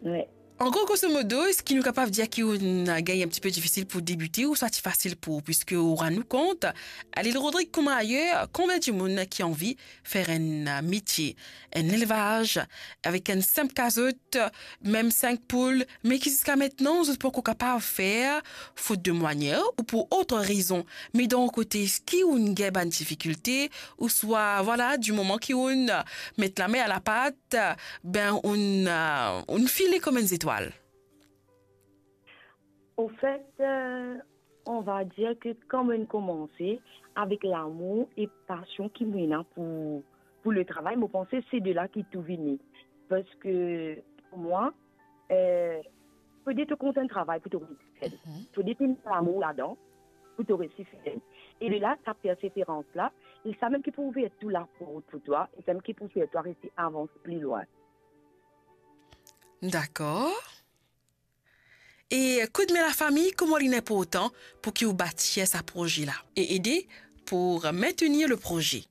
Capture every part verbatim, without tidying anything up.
Wi. An gro, groso modo, eski nou kapav dir ki ou gagn enn tipe difisil pou debite ouswa ti fasil pou ou, piski ou rann ou kont, a Lil Rodrig kouma ayer, konbien dimoun ki anvi fer enn, a, metie, enn lelvaz, avek enn sinp kazot, mem sink poul, me ki ziska mintnan, zot pankor kapav fer, fot de mwayen ou pou ot rezon. Me dan ou kote, eski ou gagn bann difikilte, ouswa, vwala, di moman ki ou met lame a lapat, ben, ou, a, ou file kouma enn zetwal? Anfet, euh, on va dir ke kan mo'nn koumanse, avek lamour e pasion ki mo ena pou, pou le travay, mo panse se de la ki tou vini. Parski pou mwa, euh, fode to kontan travay pou to resi fer. Mhm. Fode to ena lamour ladan pou to resi fer. E de la, sa perseverans la, e sa mem ki pou ouver tou laport pou twa, e sa mem ki pou fer twa resi avans pli lwin. Dakor. E koudme lafami, kouma li inportan pou ki ou batir sa proze la e ede pou maintenir le proze?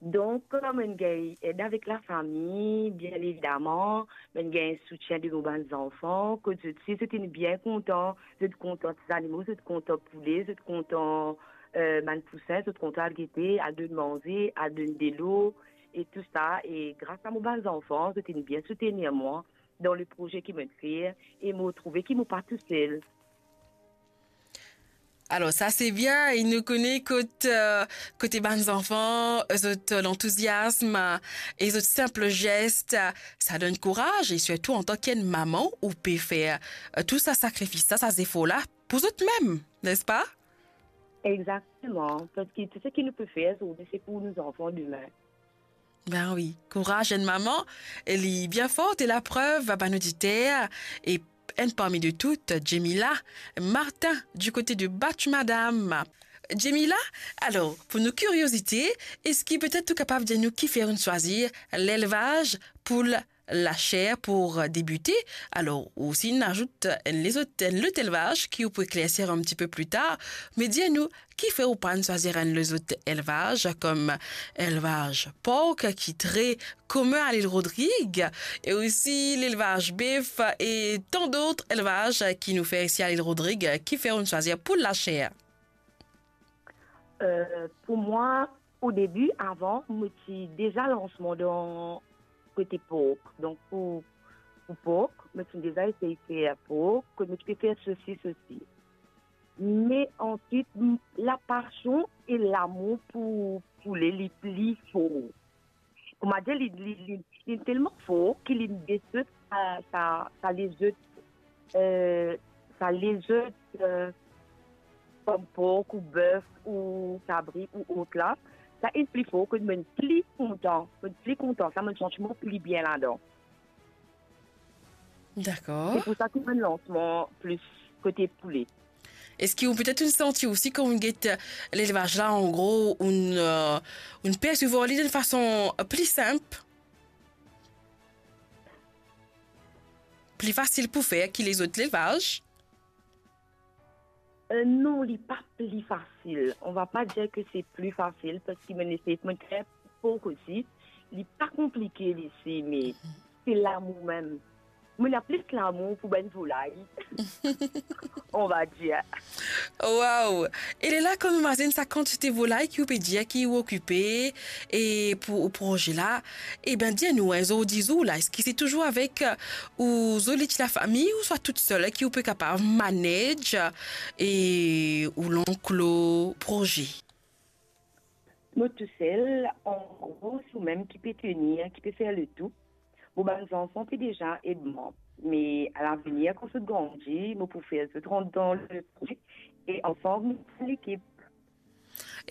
Donk, mo'nn gagn ed avek lafami, bien evidaman, mo'nn gagn soutien de mo bann zanfan, kot zot si zot inn bien kontan, zot kontan ti zanimo, zot kontan poule, zot kontan, euh, bann pousin, zot kontan al gete, al donn manze, al donn delo, e tou sa. E gras a mo bann zanfan, zot inn bien soutenir mwa dan le proze ki mo'nn fer, e mo trouve ki mo pa tousel. Alor, sa se bien, e nou kone kot, euh, kote bann zanfan, zot lantouziasm e zot sinp zes, sa donn kouraz, e sirtou antan ki enn mama, ou pe fer, euh, tou sa sakrifis la, sa zefor la, pou zot mem, nespa? Exakteman, parski tou seki nou pe fer zordi, se pou nou zanfan demin. Ben wi, kouraz enn mama, li bien for, e laprev, bann oditer, e enn parmi de tout, Jemila Martin, du kote de Batch Madam. Jemila, alor, pou nou kiriozite, eski petet ou kapav dir nou kifer ou'nn swazir lelvaz poul laser pou debite? Alor, ou osi inn azout enn lezot, enn lot elvaz ki ou pou eklersir enn tipe pli tar, me dir nou, kifer ou pa'nn swazir enn lezot elvaz, kom elvaz pork ki tre komin a Lil Rodrig, e osi lelvaz bef e tan dot elvaz ki nou fer isi a Lil Rodrig, kifer ou'nn swazir poul laser? Euh, pou mwa, o debi, avan, mo ti deza lans mwa dan kote pork. Donk, pou, pou pork, mo ti deza esey fer pork, kot mo ti pe fer sosis osi. Me answit, m-, lapasion e lamour pou poule, li pli for. Kouma dir, li, li, li, li telman for ki li desot sa, sa, sa lezot, euh, sa lezot, euh, kom pork ou bef ou kabri ou ot la, sa inn pli for, ke mo'nn pli kontan, mo'nn pli kontan, sa mo'nn santi mwa pli bien ladan. Dakor. Se pou sa ki mo'nn lans mwa plis kote poule. Eski ou petet ou'nn santi osi kan ou'nn get lelvaz la, an gro, ou'nn, euh, ou'nn persevwar li dan enn fason pli sinp, pli fasil pou fer ki lezot lelvaz? Euh, non, li pa pli fasil. On va pas dire que c'est plus facile, parski mo'nn esey, mo'nn fer pork osi. Li pa konplike, li, se, me se lamour mem. Mo'nn ena plis lamour pou bann volay, on va dire. Waw! E lerla, kan nou mazinn sa kantite volay ki ou pe dir ki ou okipe e pou ou proze la, e ben, dir nou, enn zordi zour la, eski se touzour avek, euh, ou zoli ti lafami, ouswa tousel ki ou pe kapav manage, euh, e ou lanklo proze? Mo tousel, an gro, se mwa mem ki pe tenir, ki pe fer le tou. Mo bann zanfan pe deza ed mwa. Me a lavenir, kan zot grandi, mo pou fer zot rant dan le proze e ansam nou fer lekip.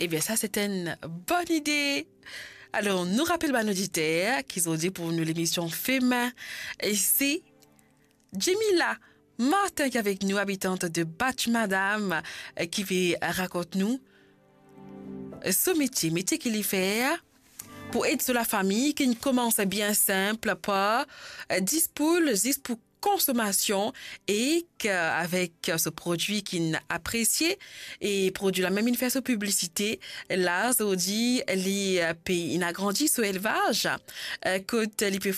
Ebien, sa, se enn bonn ide. Alor, nou rapel bann oditer ki zordi pou nou lemision Femin, e se Jemila Martin ki avek nou, abitant de Batch Madam, eh, ki pe rakont nou, eh, so metie, metie ki li fer pou ed so lafami, ki inn koumans bien sinp par, eh, dis poul, zis pou konsomasion, e ki, avek so prodwi ki inn apresie, e prodwi la mem inn fer so piblisite, la, zordi, li, eh, pe inn agrandi so elvaz, eh, kot li pe